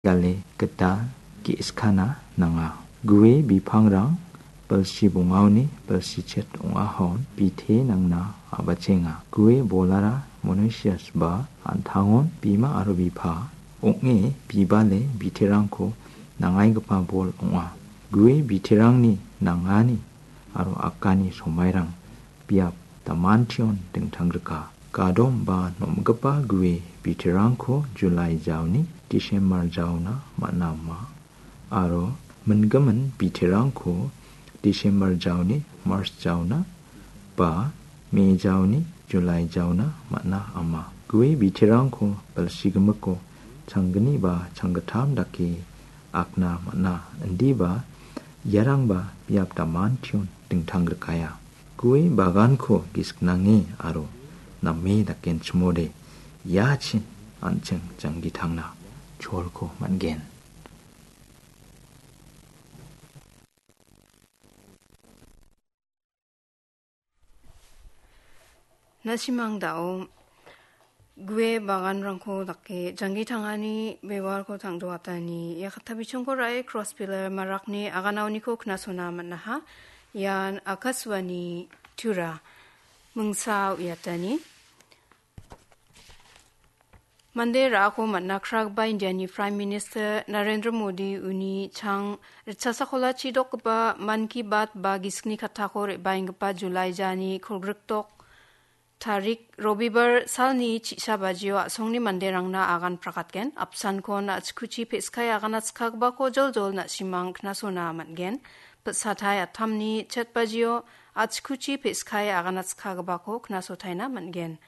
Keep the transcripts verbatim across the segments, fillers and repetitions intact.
gale gita ge·skana nanga. Gue bipangrang bilsi bongaoni bilsichet ong·ahon bite nangna a·bachenga. Gue bolara monosias ba an·tangon bima aro bipa ong·e bibale biterangko nangaigipa bol ong·a. Gue biterangni nangani aro akani somairang biap damantion dingtanggrika. Gadom ba nomgipa gue biterangko Julai jaoni Disembar jaona man·a ama. Aro mingimin biterangko Disembar jaoni Mars jaona ba Me jaoni Julai jaona man·a ama. Gue biterangko bilsigimiko changgni ba changgittam dake akna man·a. Indiba iarangba biap damantion dingtanggrikaya. Gue baganko gisik nange aro name dakenchimode iachin an·ching janggitangna cholko man·gen. Na·simang da·o gue baganrangko dake janggi tangani bewarko tangdoatani ia katta bichongko ra·e cross pillar marakni aganaoniko knasona man·aha. Ian Akashvani Tura mingsa uiatani. Mande ra·ako man·a kragipa Indiani Prime Minister Narendra Modi uni chang ritchasakolachi dokgipa Mann Ki Baat ba gisikni kattako re·baenggipa Julai jani kolgrikdok tarik Robibar salni chi·sa bajio a·songni manderangna agan prakatgen. Apsankon a·chikuchi pe·skai agana chikagipako joljol na·simang knasona man·gen. Pitsatai attamni chet bajio a·chikuchi pe·skai agana chikagipako knasotaina man·gen.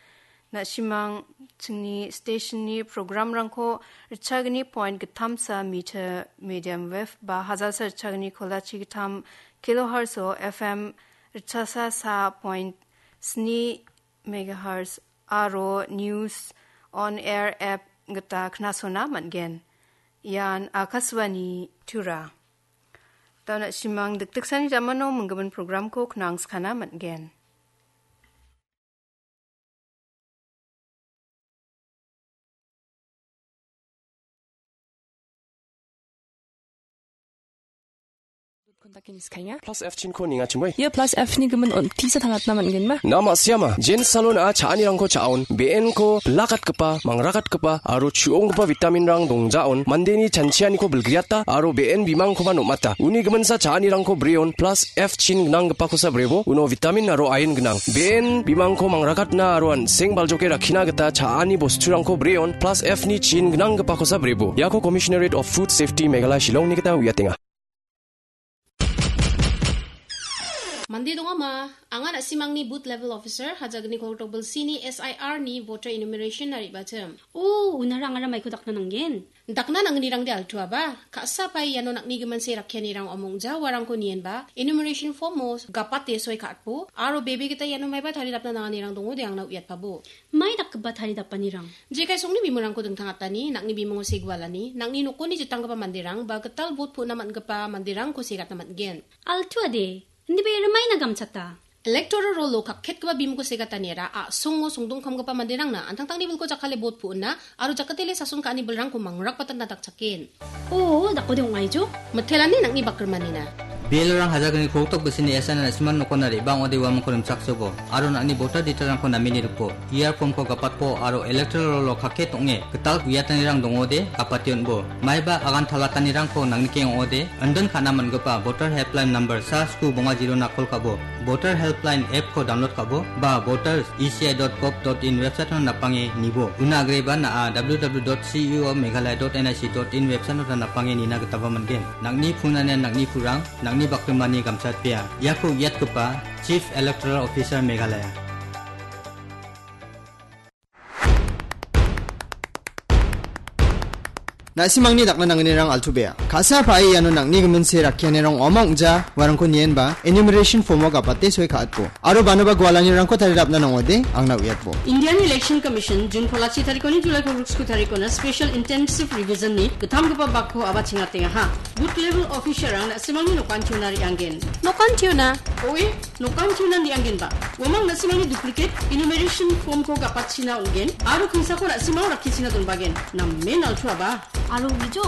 Na·simang chingni stationni programrangko ritchagni point gittamsa meter medium wave ba hajalsa ritchagni kolachi gittam kilohertz-o F M ritchasa sa point sni megahertz aro News on Air app gita knasona man·gen. Ian Akashvani Tura. Da·o na·simang dikdiksani jamano minggimin programko knangskana man·gen. Kontakini skainga. Plus F chinko ningachimoi. Ia plus F ni gimin on tisa tangatna man·genma? Na ma·siama. Jin salon a cha·anirangko cha·on. Be·enko bilakatgipa, mangrakatgipa aro chu·onggipa vitaminrang dongjaon. Mandeni chanchianiko bilgriata aro be·en bimangkoba nom·ata. Uni giminsa cha·anirangko breon plus F chin gnanggipakosa brebo. Uno vitamin aro ain gnang. Be·en bimangko mangrakatna aro an·seng baljoke rakkina gita cha·ani bosturangko breon plus F ni chin gnanggipakosa brebo. Iako Commissionerate of Food Safety Meghalaya Shillongni gita uiatenga. Mande dongama, anga na·simangni booth level officer, hajagni koltok bilsini S I R ni voter enumeration na re·bachim. O, unara angara maiko dakna nanggen? Dakna nangnirangde altuaba, ka·sa pai iano nang·ni gimin se rakkianirang omongja uarangko nienba, enumeration form-o gapate soi ka·atbo, aro bebe gita iano maiba taridapna nanganirang dongode angna uiatpabo. Mai dakgipa taridapanirang? Jekai songni bimungrangko dingtangatani, nang·ni bimungo segualani, nang·ni nokoni jitanggipa manderang ba gital bot pu·na man·gipa manderangko segatna man·gen. Altuade, indiba ia rimaina gamchata. Electoral roll-o kakketgipa bimungko segataniara a·songo songdongkamgipa manderangna an·tangtangni bilko jakkale bot pu·na aro jakatele sason ka·ani bilrangko mangrakbatatna dakchaken. O, dakode ong·aijo? Mitelani nang·ni bakrimanina. Belorang hajagni koltok bisini S I R na·simang nokona re·bang ode uamangko rimchaksobo, aro nang·ni voter detail-rangko namini ripo, E R form-ko gapatpo, aro electoral roll-o kakket ong·e gital uiatanirang dongode gapate on·bo. Maiba agan talatanirangko nangnikeng ong·ode, indon ka·na man·gipa voter helpline number sa sku bonga zero-na call ka·bo, voter helpline app-ko download ka·bo, ba voters E C I dot gov dot in website-ona napange nibo. Una agreba na·a W W W dot C E O Meghalaya dot N I C dot in website-ota napange nina gitaba man·gen. Nang·ni punanian nang·ni purang, nang·ni bakrimani gamchatbea. Iako uiatgipa Chief Electoral Officer Meghalaya. Na·simangni dakna nangnirang altu bea. Ka·sa pa·e iano nang·ni gimin se rakkianirang ong·a ong·ja uarangko nienba enumeration form-o gapate soi ka·atbo. Aro banoba gualanirangko taridapna nangode angna uiatbo. Indian Election Commission June kolachi tarikoni July kolgriksku tarikona special intensive revision-ni gittamgipa bakko aba chingatengaha. Booth level officer-rang na·simangni nokantiona re·anggen. Nokantiona? Oe, nokantiona re·anggenba. Uamang na·simangni duplicate enumeration form-ko gapatchina ong·gen, aro kingsako na·simang rakkichina donbagen. Namen altuaba. Aro uijo,